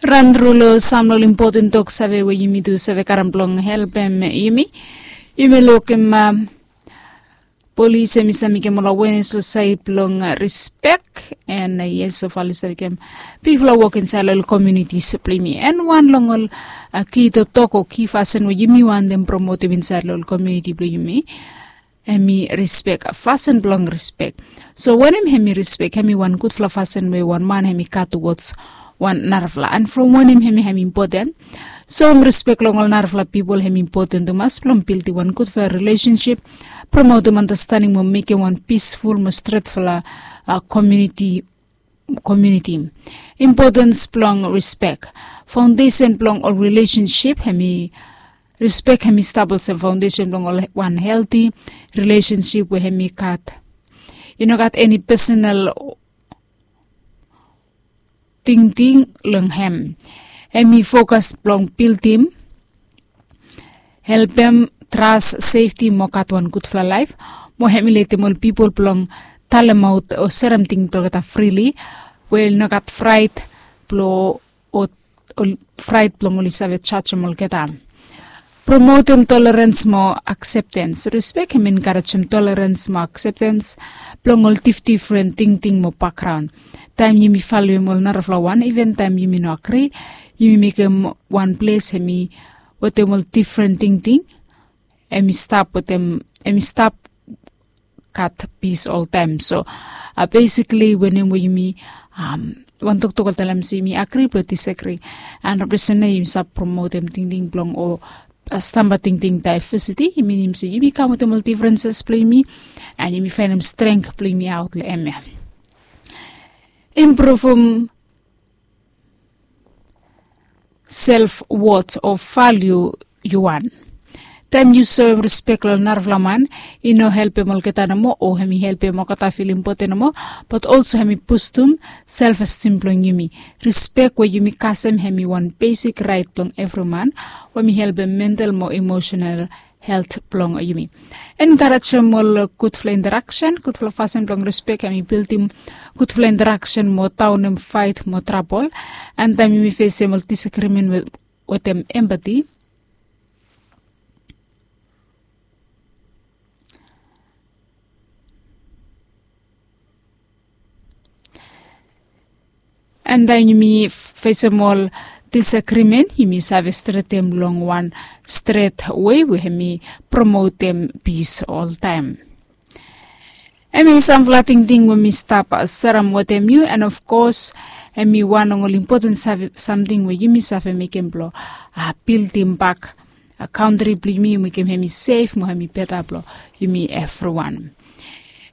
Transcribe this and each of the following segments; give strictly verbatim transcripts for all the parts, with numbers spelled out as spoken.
Ran tru long sam long impoten tok save we yumi tu save karim blong helpem yumi. Yumi lukim polis em i save mekim ol awenes long saed blong rispek. En yes, so fali save mekim bigfala wok insaed long ol komunitis blong yumi. En wan long ol ki totok o ki fasin we yumi wantem promotim insaed long ol komuniti blong yumi, em i rispek, fasin blong rispek. So wanem em i rispek? Em i wan gudfala fasin we wan man em i gat tuwods wan narafala. En from wanem em i impoten? Soem rispek long ol narafala pipol em i impoten tumas blong bildim wan gudfala rilesensip, promotim anastening mo mekim wan pisful mo stretfala komuniti. Komuniti. Impotens blong rispek. Faondesen blong ol rilesensip em i rispek em i stap olsem faondesen blong ol wan helti rilesensip we em i gat, i no gat eni pesonal tingting long em. Em i fokas blong bildim, helpem, tras, sefti mo gat wan gudfala laef. Mo em i letem ol pipol blong talemaot o serem tingting blong olgeta frili, we i no gat fraet blong o fraet blong oli save jajem olgeta. Promotem tolerens mo akseptens. Rispek em i enkarejem tolerens mo akseptens blong ol difdifren tingting mo bakgraon. Taem yumi faloem ol narafala wan, iven taem yumi no agri, yumi mekem wan ples em i wetem ol difren tingting, em i stap wetem, em i stap gat pis oltaem. So besikli wanem we yumi wan toktok oli talem se yumi agri blong disagri. En represent na yumi save promotem tingting blong o stamba tingting daevesiti, i minim se yumi kam wetem ol difrenses blong yumi, en yumi faenem strength blong yumi aot long em ya. Impruvum self wot o valiu yu wan. Taem yu soem rispek long narafala man, i no helpem olgeta nomo o em i helpem olgeta filim impoten nomo, bat olso em i bustum self estim blong yumi. Rispek we yumi kasem em i wan besik raet blong evri man, we em i helpem mental mo emosenal helt blong yumi. Enkarejem ol gudfala interaksen. Gudfala fasin blong rispek em i bildim gudfala interaksen mo daonem faet mo trabol. En taem yumi fesem ol disagrimen wetem empati, en taem yumi fesem ol disagrimen, yumi save stretem long wan stret wei we em i promotem pis oltaem. Em i samfala tingting we mi stap serem wetem yu, en of kos em i wan long ol impoten samting we yumi save mekem blong bildim bak kantri blong yumi, mekem em i sef mo em i beta blong yumi evriwan.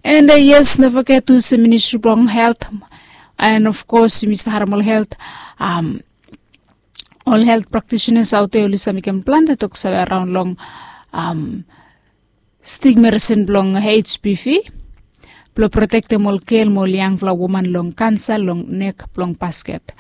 En yes, no foget tu se ministri blong helt, en of kos yumi save harem ol helt, ol helt praktisinas aot ya oli save mekem plante toksave araon long stigma risen blong H P V blong protektem ol gel mo ol yangfala woman long kansa long nek blong basket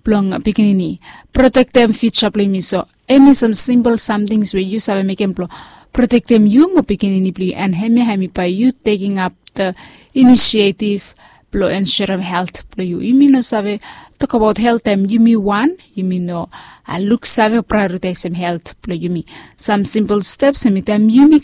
blong pikinini. Protektem fiuja blong yumi. So em i sam simpol samtings we yu save mekem blong protektem yu mo pikinini blong yu, en hemia hem i bae yu tekem ap the inisiativ blong ensurem helt blong yu. Yumi no save tokabaot helt taem yumi wan, yumi no luksave o praeoritaesem helt blong yumi. Sam simpol steps hem i taem yumi